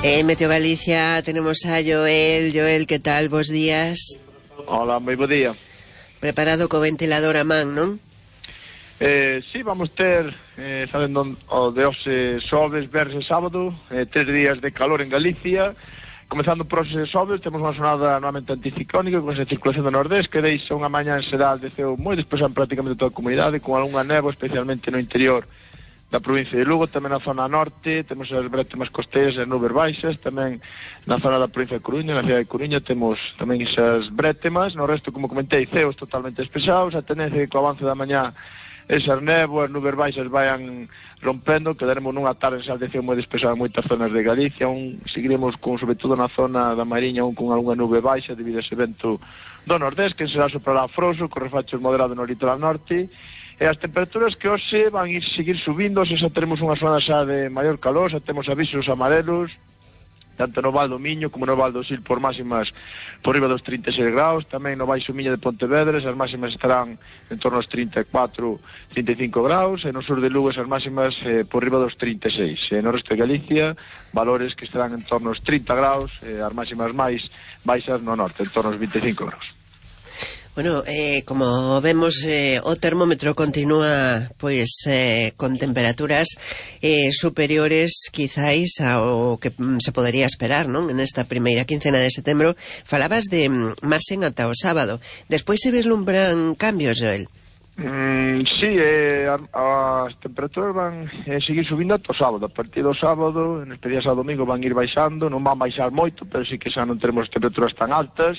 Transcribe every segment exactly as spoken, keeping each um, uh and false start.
En Meteo Galicia tenemos a Joel. Joel, que tal? Bos días. Hola, moi bo día. Preparado co ventilador a man, non? Eh, sí, vamos ter, eh, sabendo o de hoxe xoves, verse sábado, eh, tres días de calor en Galicia. Comezando por hoxe xoves, temos unha sonada novamente anticiclónica con esa circulación do nordés que deixa unha mañá en xeral de ceo moi despexado en prácticamente toda a comunidade, con algunha néboa, especialmente no interior da provincia de Lugo, tamén na zona norte temos as brétemas costeiras e as nubes baixas, tamén na zona da provincia de Coruña, na cidade de Coruña temos tamén esas brétemas, no resto, como comentei, ceos totalmente despexados, a tendencia é que co avance da mañá esas néboas, nubes baixas vayan rompendo, quedaremos nunha tarde en xal de ceo moi despexada en moitas zonas de Galicia, un seguiremos con, sobre todo na zona da Mariña, un con algunha nube baixa debido a ese vento do nordés, que será soprará froso, con refachos moderados no litoral norte. E as temperaturas que hoxe van ir seguir subindo, hoxe xa teremos unha zona xa de maior calor, xa temos avisos amarelos, tanto no Val do Miño como no Val do Sil por máximas por riba dos trinta e seis graus, tamén no Baixo Miño de Pontevedra, as máximas estarán en torno aos trinta e catro, trinta e cinco graus, e no sur de Lugo as máximas eh, por riba dos trinta e seis. E no resto de Galicia, valores que estarán en torno aos trinta graus, e as máximas máis baixas no norte, en torno aos vinte e cinco graus. Bueno, eh, como vemos, eh, o termómetro continúa pois eh, con temperaturas eh, superiores quizáis ao que mm, se podería esperar, non? En esta primeira quincena de setembro falabas de mm, marxen ata o sábado. Despois se vislumbran cambios, Joel? Mm, sí, eh, as temperaturas van eh, seguir subindo ata o sábado. A partir do sábado, en especial ao domingo, van ir baixando, non van baixar moito, pero sí que xa non teremos temperaturas tan altas.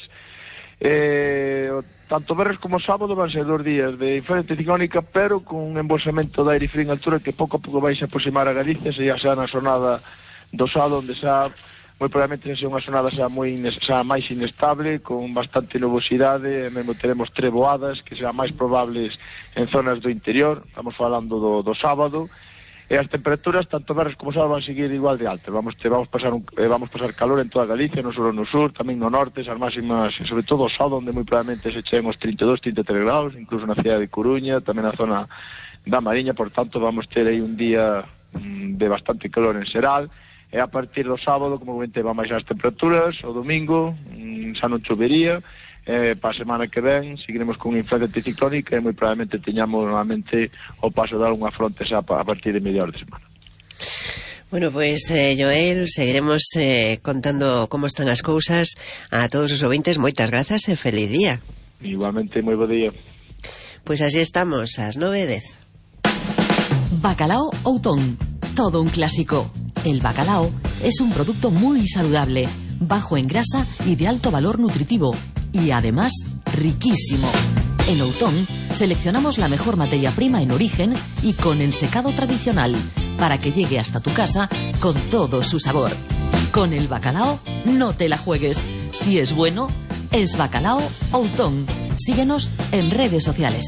Eh, tanto verres como sábado van ser dos días de influencia ciclónica, pero con un embolsamento de aire frío en altura que pouco a pouco vai se aproximar a Galicia, se xa xa na sonada do sábado, onde xa moi probablemente xa unha sonada xa moi xa máis inestable, con bastante nubosidade, e mesmo teremos treboadas que serán máis probables en zonas do interior. Estamos falando do, do sábado. E as temperaturas, tanto verres como sábado, van seguir igual de altas. Vamos, te, vamos, pasar un, eh, vamos pasar calor en toda Galicia, non só no sur, tamén no norte, as máximas, sobre todo o sábado, onde moi probablemente se cheguen os trinta e dos, trinta e tres graus, incluso na cidade de Coruña, tamén na zona da Mariña. Por tanto, vamos ter aí un día mm, de bastante calor en xeral, e a partir do sábado, como comentei, van baixar as temperaturas, o domingo mm, xa non chovería. Eh, para a semana que ven seguiremos con unha influencia anticiclónica e moi probablemente teñamos normalmente o paso de algunha fronte xa a partir de mediados de semana. Bueno, pois, pues, eh, Joel, seguiremos eh, contando como están as cousas a todos os ouvintes. Moitas grazas e feliz día. Igualmente, moi bo día. Pois pues así estamos, ás nove e dez. Bacalao Outón, todo un clásico. El bacalao es un producto muy saludable, bajo en grasa y de alto valor nutritivo. Y además, riquísimo. En Outón seleccionamos la mejor materia prima en origen y con ensecado tradicional para que llegue hasta tu casa con todo su sabor. Con el bacalao no te la juegues. Si es bueno, es Bacalao Outón. Síguenos en redes sociales.